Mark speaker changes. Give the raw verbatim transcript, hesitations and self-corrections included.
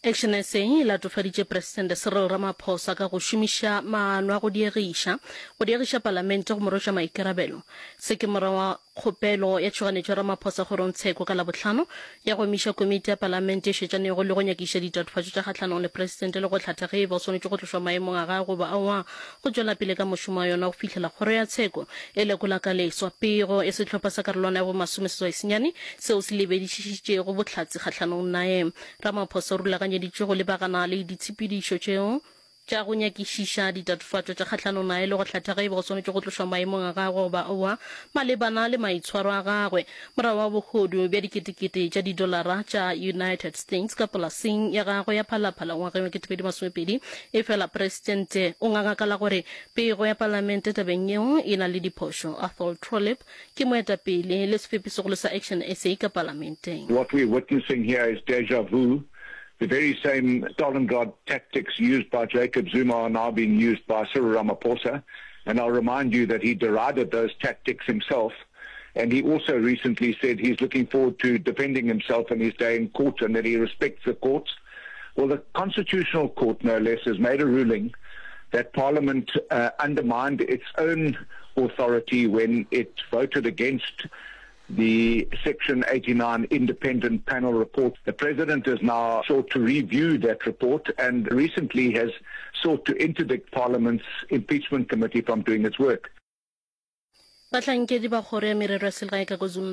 Speaker 1: Action SA e latofaditše Presidente Cyril Ramaphosa ka go šomiša maano a go diegiša go diegiša palamente go mo rweša maikarabelo. Se ke morago ga kgopelo ya tšhoganetšo ya Ramaphosa kgorongtsheko ka Labohlano ya go emiša komiti ya palamente e šetšanego le go nyakišiša ditatofatšo tša kgahlanong le Presidente le go hlatha ge e ba o swanetše go tlošwa maemong a gagwe goba aowa go tšwela pele ka mošomo wa yona go fihlela kgoro ya tsheko e lekola ka leswa pego ya sehlopha sa karolwana ya bomasomeseswai senyane seo se lebedišišitšego bohlatse kgahlanong naye. Ramaphosa o rulaganyeditšwe go lebagana le ditshepedišo tšeo tša go nyakišiša ditatofatšo tša kgahlanong naye le go hlatha ge e ba o swanetše go tlošwa maemong a gagwe goba aowa malebana le maitshwaro a gagwe morago ga bohodu bja diketekete tša didolara tša United States ka polaseng ya gagwe ya Phalaphala ngwageng wa ketepedi masomepedi. Efela Presidente o nganga ka la gore pego ya palamente tabeng yeo e na le diphošo. Athol Trollip ke moetapele le sefepisegolo sa Action SA ka palamenteng.
Speaker 2: What we're witnessing here is deja vu. The very same Stalingrad tactics used by Jacob Zuma are now being used by Cyril Ramaphosa. And I'll remind you that he derided those tactics himself. And he also recently said he's looking forward to defending himself in his day in court and that he respects the courts. Well, the Constitutional Court, no less, has made a ruling that Parliament uh, undermined its own authority when it voted against the Section eighty-nine Independent Panel report. The President has now sought to review that report and recently has sought to interdict Parliament's Impeachment Committee from doing its work.
Speaker 1: Bahlankedi ba Kgoro ya Merero ya Selegae ka KwaZulu-Natal